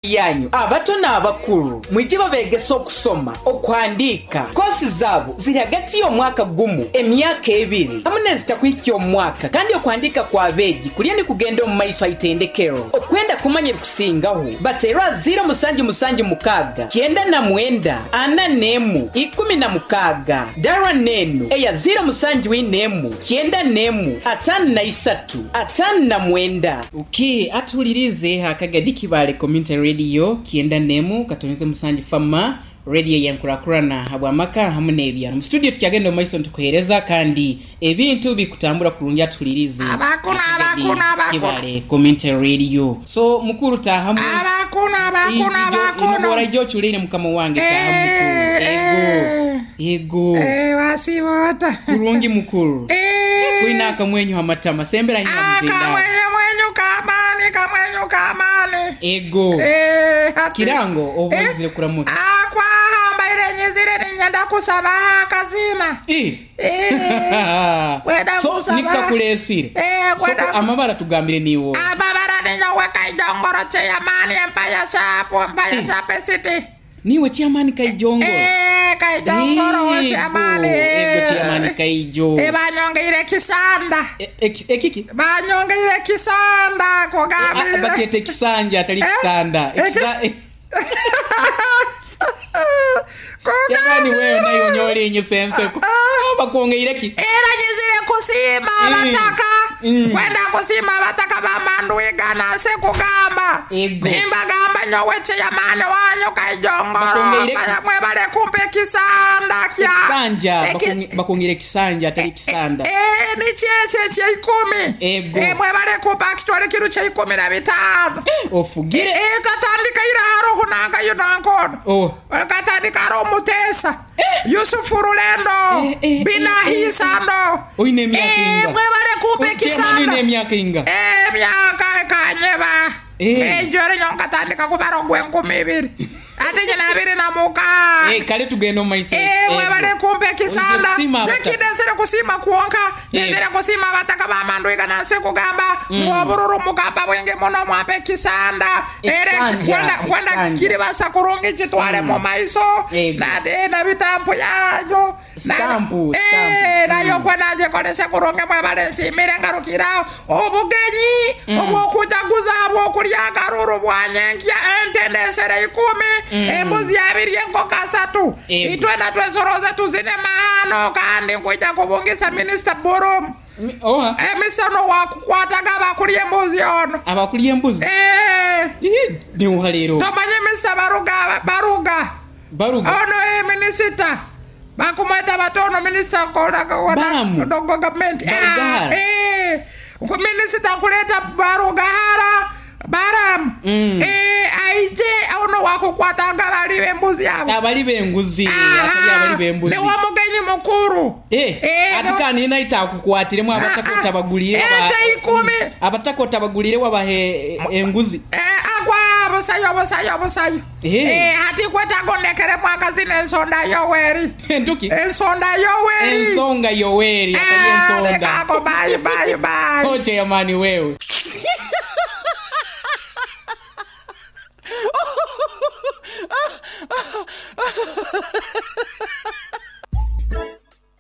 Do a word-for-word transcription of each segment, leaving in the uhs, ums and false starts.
Yanyu abato n'abakulu mwije babegesa okusoma, okuhandiika. Kosi zaabo ziri hagati y'omwaka gumu, emyaka ebiri hamu n'ezitakuhikya omwaka, kandi okuhandiika kw'abeegi kulya nikugenda omu maiso haitendekero. Okwenda kumanya ebikusingaho, bateerwa ziro musanju musanju mukaaga kyenda na mwenda ana n'emu ikumi na mukaaga, darwa n'enu eya ziro musanju ina emu kyenda n'emu ataano na isatu ataano na mwenda. Okay, atuhulirize Akagadi Kibale Community Radio kyenda n'emu katonze musanju fama radio yenkurakurana habw'amaka hamu n'ebyaro. Mu studio tukyagenda omu maiso nitukuheereza kandi ebintu bikutambura kurungi. Atuhulirize Abakunu, Akagadi abakunu, abakunu. Kibale Community Radio. So mukuru, tahamu. Abakunu, abakunu, abakunu. Inobora ijo ochuleire, mukama wange, tahamu mukuru. Eh, ego ego. Eh, wasiibota? Kurungi mukuru. Eh. Kwina akamwenyu hamatama, sembera nyina mzinda. Akamwenyu mwenyu kamani, kamwenyu kamani. Ego. Eh, hati- Kirango obwizire kuramuka. Akwahambaire nyizire ninyenda kusaba akazina. Eh. Eh, kwenda So kusaba. nikakulesire. Eh, kwenda- So, amabara tugambire niwo. Amabara ninyowe Kaijongoro, chairman Empire Shop, Empire Eh. Shop City. Niwe chairman Kaijongoro? Eh, Kaijongoro we chairman. Ego, chairman Kaijo. Eh, banyongeire kisanda. E- eki- ekiki Banyongeire kisanda. Ah, Kugambire. Bakyeta ekisanja, atali Eh? kisanda. Eki- Ekisa- Chairman, wewe nayo nyolinnyisa enseko. Bakwongeire ki? Era nyizire kusiima Mm. abataka. Mm. Kwenda kusiima abataka bamandwigana nsi kugamba. Ego. Nimbagamba nyowe chairman wanyu Kaijongoro. Bakwongeire ki? Mwebale kumpa ekisanda kya Ekisanja. Eki- Bakwonge- bakwongeire ekisanja, atali kisanda. Eh, nikyekyo ekyeikumi. Ego. Eh, mwebale kumpa kitwale kiru kyeikumi na bitaano. Ofugire. Eh, katandika ira haroho nangayo nankono. Oh. Katandika aro Mutesa Yusufu Rulendo. Eh, eh, Binahisando. Oine emyaka inga? Mwebale kumpa Chairman, oine ekisanda. emyaka inga? Emyaka ekanyeba. Eh. Ejore nyo katandika kubara ogw'enkumi ibiri ate nyina abiri na mukaaga. Eh, kale tugenda omu maiso. Eh, mwebale kumpa ekisanda. Oize kusiima abataka. Nekindesere kusiima kwonka. Eh. Nizire kusiima abataka bamandwiga nansi kugamba ng'obururu mugamba bwingi muno, mwampa ekisanda. Era Ekisanja, kwenda kwenda ekisanja. kiribasa kurungi kitwale mu maiso. Ego. Nade na bitampu yanyu. Na- Stampu, Eh, stampu. nayo kwenda ngikolese kurungi. Mwebale nsiimire. Ngarukiraho obugenyi obwokujaguza bwokulya akaruru bwanyenkya, ente ndesere ikumi, embuzi abiri, enkoko asatu. Ego. Itwena twesoroze tuzine mahano, kandi nkwija kubungisa Minisita Burum. Mi- oha Emisono wakukwataga abakulya embuzi ono. Abakulya embuzi? Eh, Ih, niuha leero. Tomanye misa baruga baruga? Baruga. Ono e minisita bakumweta batono minisita. Baramu. Dogo gavumenti. Barugahara. Minisita nkuleta Barugahara Baramu. Mm. Eh, aije ono wakukwataga bali bembuzi abo. Abali b'enguzi, atali abali b'embuzi. Niwe mugenyi mukuru. Eh, Eh, ati niwe- kandi naita akukwatiremu abataka Ah, ah. otabagulire. Ente ikumi. Abataka otabagulire wabahe enguzi. Eh, agwa busayo busayo busayo. Eh. Eh, ati kwetagondekere mwaka zino ensonda Yoweri. Entuki? Ensonda Yoweri. Ensonga Yoweri, atali Eh, ensonda. lekako, bye bye bye. Oh, chairman wewe.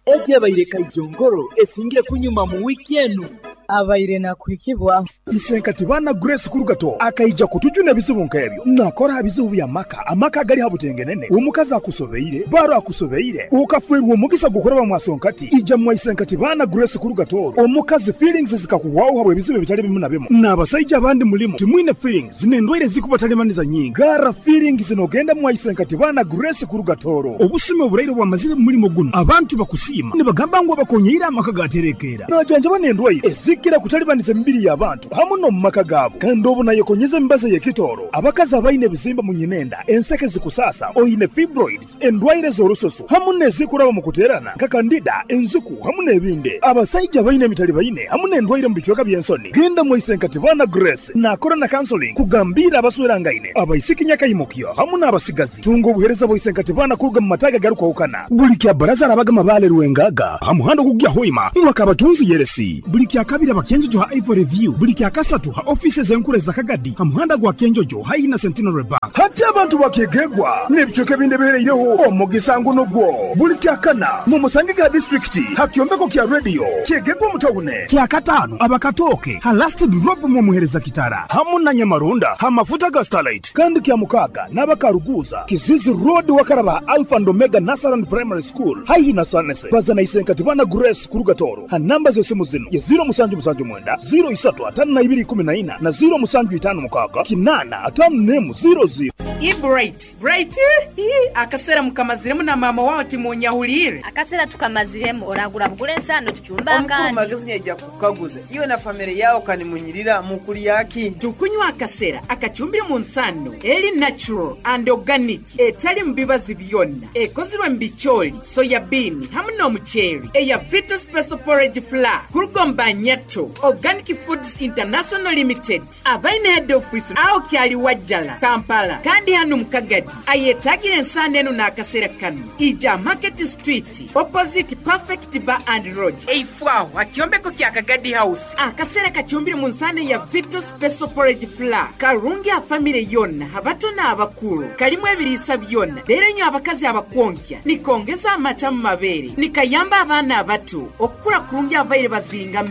Ebyabaire Kaijongoro esingire kunyuma mu wiiki enu. Abaire nakuhikibwaho. Isenkati bana Grace Kurugato akaija kutujuna ebizibu nk'ebyo nakora bizibu bya maka, amaka agali habutengenene, omukazi akusobeire, baro akusobeire, ukafwerwa omukisa gukoraba mwasonkati, ija mwa Isenkati bana Grace Kurugato. Omukazi feelings zikakuhwaho habwe ebizibu ebitali bimu na bimu, n'abasaija abandi mulimu timwine feelings n'endwaire zikubatalimaniza nyingi. Gara feelings nogenda mwa Isenkati bana Grace Kurugatoro. Obusumi oburaire bwamazire mu mulimo guno, abantu bakusiima nibagamba ngu abakonyeire amaka gaterekeera, najanjaba n'endwaire ezikira kutalibaniza emibiri y'abantu hamu n'omu maka gaabo. Kandi obu nayekonyeza emibazi ey'ekitooro, abakazi abaine ebizimba mu nyinenda, enseke zikusaasa, oine fibroids, endwaire z'orususu hamu n'ezikuraba mu kuteerana nka candida, enzuku hamu n'ebindi, abasaija baine emitali baine hamu n'endwaire mu bicweka by'ensoni, genda mwisenkati bana Grace. Nakora na counseling kugambira abaswerangaine, abaisiki nyakaimukyo hamu n'abasigazi. Tunga obuhereza bwaisenkati bana kuruga mu mataga garukwahukana. Buli kya baraza arabaga mabale Rwengaga ha muhanda ogugya Hoima mwaka abatunzi yeresi. Buli kya kabiri abakenzo ha Ivory View, buli kya Kyakasatu ha ofisi z'enkuru za Kagadi ha muhanda gwa Kenjojo haihi na Centenary Bank. Hati abantu bakegegwa n'ebicweka ebindi ebihereireho omugisa nguno gwo buli kyakana mu musange ga disitulikiti ha kyombeko kya radio kyegegwa omutawune. Kyakataano abakatooke ha last drop mu muhereza kitara hamu na Nyamarunda ha mafuta ga Starlight. Kandi kya mukaaga n'abakaruguza Kizizi Road wakaraba Alpha and Omega Nursery Primary School haihi na Sanese. Bazana isenkati bana Grace Kurugatoro ha namba z'esimu zino ye ziro musanju musanju mwenda ziro isatu atano na ibiri kumi na ina na ziro musanju itano mukaaga kinana atano nemu ziro ziro. I Bright, Bright, ii, akasera mukamaziremu na mama wawe timunyahulire. Akasera tukamaziremu oragura bugule ensano tucumba Omukuru akandi. Magezi nyaija kukaguza iwe na famire yawo kanimunyirira mukulyaki. Tukunywa akasera akacumbire mu nsano eri natural and organic etali mu bibazi byonna ekozirwe mu bicooli, soya bean hamu n'omuceeri eya Vita Special Porridge Flour kurugomba Nyato Organic Foods International Limited abaine head office aho kyali Wajjala Kampala kandi hano mu Kagadi ayetagire ensano eno n'akasera kano ija Market Street opposite Perfect Bar and Lodge eifwaho akyombeko kya Kagadi House. Akasera kacumbire mu nsano ya Vita Special Porridge Flour karungi afamire yonna abato n'abakulu kalimu ebiriisa byonna leero nyo abakazi abakwonkya nikongeza amata mu mabeere nikayamba abaana abato okukula kurungi abaire bazingamira.